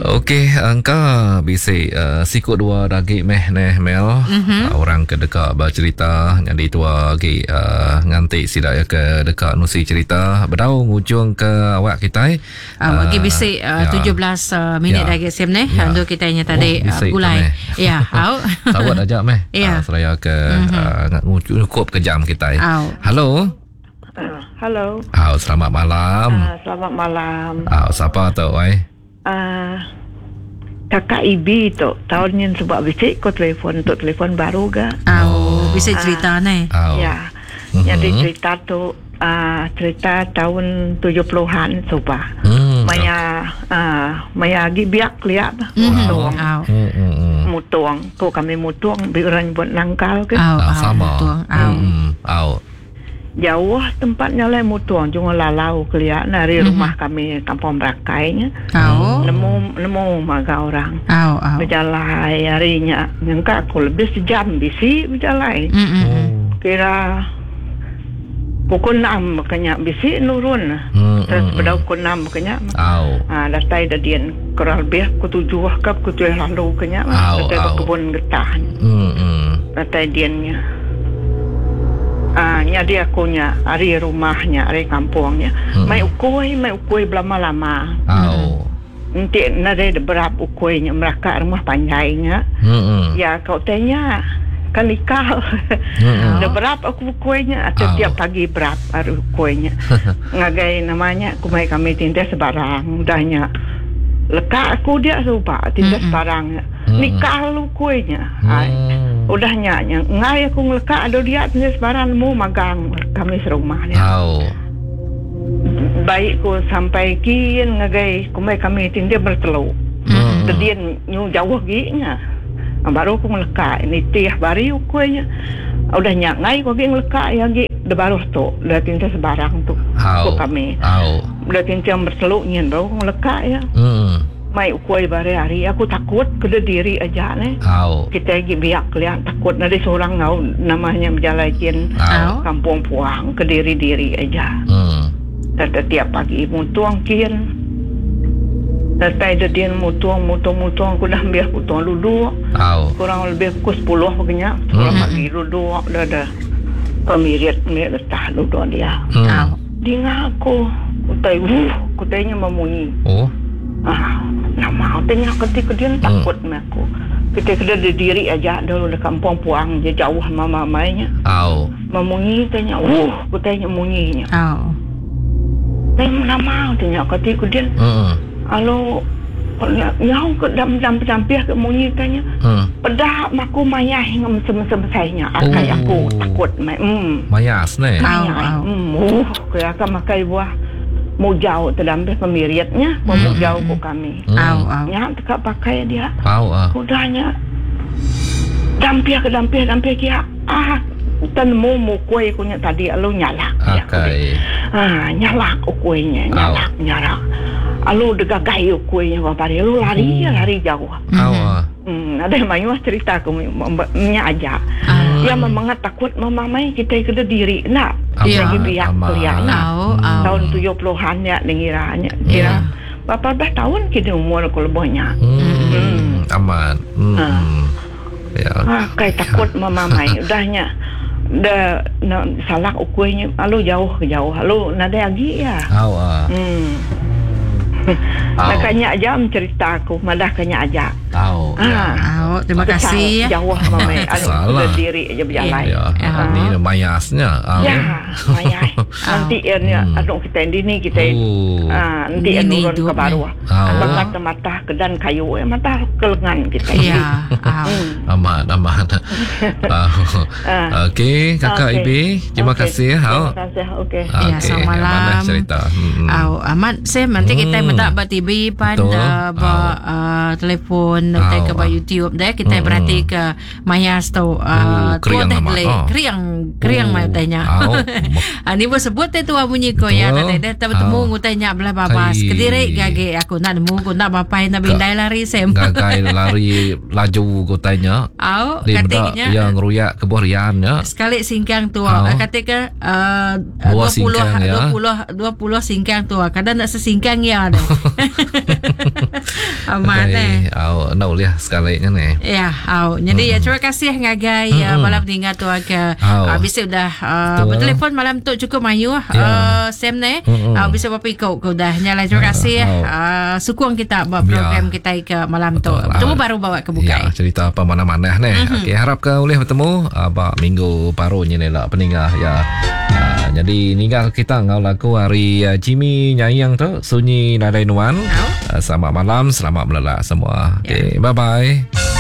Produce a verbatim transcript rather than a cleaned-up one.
Okey, engka bisi uh, siku dua lagi meh neh Mel. Mm-hmm. Uh, orang ke deka bercerita nyadi tua lagi uh, nganti sida ya ke deka nusi cerita bedau ngujung ke awak kita. Uh, lagi bisi uh, ya. tujuh belas uh, minit ya. Lagi sim neh. Ya. Untuk kita nya tadi oh, uh, gulai. Ya, au. Sawat aja meh. Ya. Uh, seraya ke mm-hmm. uh, cukup ke jam kita. Au. Halo. Uh, halo. Au, selamat malam. Uh, selamat malam. Au, siapa tu oi? Uh, kakak Ibi tu tahun ni sebab bisik ko telefon untuk telefon baru ga. Oh, bisa cerita uh, ni. Oh. Ya. Mm-hmm. Jadi cerita tu uh, cerita tahun tujuh puluhan sebab. Mm, maya uh, maya agi biak liat mutuang. Mm-hmm. Mutuang ko kami mutuang bi orang buat nangkal ke. Oh, oh, sama. Mutuang. Oh. Mm, oh. Jauh tempatnya lah mutuang cuma lalau keliak dari mm-hmm. rumah kami kampung Berakainya. Oh. Nemu nemu maga orang. Oh, oh. Berjalan harinya nyangka aku lebih sejam bisi berjalan. Mm-hmm. Kira pukul enam makanya bisi nurun. Mm-hmm. Terus pada pukul enam makanya. Oh. Ha, datai dadian kurang lebih pukul tujuh ke pukul tujuh lalu kenya. Oh, datai oh. berkebun getah. Mm-hmm. Datai diannya. Ah, nya dia akunya hari rumahnya, hari kampungnya. Hmm. Mai ukui, mai ukui berlama-lama. Oh. Nanti nade berap ukuinya meraka rumah panjainya. Hmm. Ya kau tanya kan nikah. Hmm. Dah berap aku ukuinya atau Oh. tiap pagi berap hari ukuinya. Ngagai namanya kumai kami tindas sebarang udahnya. Lekak aku dia supa tindas sebarang. Hmm. Nikah lu kuinya. Hmm. Udah nya ngai aku ngelekak ada dia tindas sebarang mu magang kami serumah dia. Oh. Baik ku sampai kin ngagai kumai kami tindas berteluk. Hmm. Tedian nyu jauh ginya. Baru aku ngelekak nitih bari kuinya. Udah nya ngai ku agi ngelekak ya agi de baruh tu, dah tindas sebarang tu. Oh. Ku kami. Oh. Udah tindas berteluk nyen baru aku ngelekak ya. Hmm. Mai ukui bare hari aku takut kena diri aja ne. Oh. Kita lagi biak lihat takut nanti seorang ngau namanya berjalan kin Oh. kampung puang ke diri-diri aja. Hmm. Tiap pagi mutuang kin. Datai dia mutuang mutuang mutuang aku dah ambil mutuang duduk. Oh. Kurang lebih pukul sepuluh pokoknya. Sepuluh Hmm. pagi duduk dah dah. Pemirit mirit letah duduk dia. Hmm. Oh. Dengar aku utai wuh kutainya memunyi. Oh. Ah, nama tanya ketika dia takut hmm. aku. Kita kena diri aja dulu di kampung puang je jauh mama mainnya. Oh. Memunyi tanya, wuh, aku tanya munyinya. Oh. Tanya nama tanya ketika dia. Hmm. Alo nyau ke dam dam dampih ke munyi tanya. Hmm. Pedah maku mayah ngam sem-sem-sainya. Akai Oh. aku takut mai. Hmm. Mayas ne. Mayah. Au, au. Hmm, wuh, kaya akan makai buah mujau terdampih pemiritnya, mujau ku kami. Hmm. Au, au. Nya tekak pakai dia. Au ah. Udahnya dampih ke dampih dampih kia. Ah, tenemu mukui kunya tadi alu nyalak. Ya, Akai. Ah, nyalak ukuinya, nyalak, nyalak. Alu degagai ukuinya bapari, alu lari ya lari jauh. Au ah. Hmm, ada yang mayu cerita aku nya aja. Ah. Ya memang takut memamai kita kena diri nak. Amat, Lagi biak amat. kuliah nak. Au, au. Tahun tujuh puluhan ya dengiranya. Kira berapa belas tahun kita umur aku lebihnya. Hmm. Amat. Hmm. Ah. Ya. Ah, kai takut memamai. Udahnya dah na, salah ukuinya alu jauh ke jauh. Alu nadai lagi ya. Au ah. Hmm. Au. Makanya aja cerita aku, madah kanya aja. Au. Ya. Ah. Au, terima kasih ya. Jauh mamai. Alu Salah. diri aja berjalan. Ya. Ya. Ni mayasnya. Au. Ya, mayai. Nanti ya, anu kita ini kita Oh. ah, nanti Ini nurun hidup ke baruah. Au. Bakat mata ke dan kayu, eh, mata ke lengan kita. Ya. Au. Amat, amat. Ah. Ah. Okey, Kakak Okey. Ibi, terima Okey. kasih. Au. Terima kasih. Okey. Ya, Okey, selamat mana malam. cerita. Hmm. Au, amat Sam nanti kita Hmm. minta ba T V pan Betul. uh, ba uh, telefon Au. kita ke ba YouTube deh kita Hmm. berarti ke mayas tu Oh, uh, keriang tua amat. teh Ah. keriang keriang Oh. mai tanya. Au. Ah ni pun sebut teh tua bunyi ko ya Betul. tadi deh bertemu Au. ngutanya belah babas. Kai. Kediri gage aku nak nemu ku nak bapai nak bindai lari Sam. Gagai lari laju ku tanya. Au, Dia kata meda nya yang ngeruyak ke buah rian nya. sekali singkang tua Au. kata ke uh, Dua dua puluh singkang, ya. dua puluh dua puluh singkang tua kadang nak sesingkang ya dah. Amat eh. Au, enda ulih sekali nya ni. Ya, au. Jadi mm. terima kasih ngagai mm. uh, malam tinggal tu ke uh, bisa udah uh, bertelefon malam tu cukup mayuh ya. uh, Sam ne. Mm-hmm. Uh, bisa berapa ikut ke udah. Nyala terima kasih uh, sukung kita buat program ya. Kita ke malam tu. Bertemu baru bawa ke bukai. Ya, cerita apa mana-mana ne. Mm-hmm. Okey, harap ke boleh bertemu uh, ba minggu baru ni lah peningah ya. Uh, jadi ninggal kita ngau lagu hari uh, Jimmy Nyayang tu Sunyi Nadai Nuan. Uh, selamat malam, selamat melelak semua. Okey, ya. Bye-bye.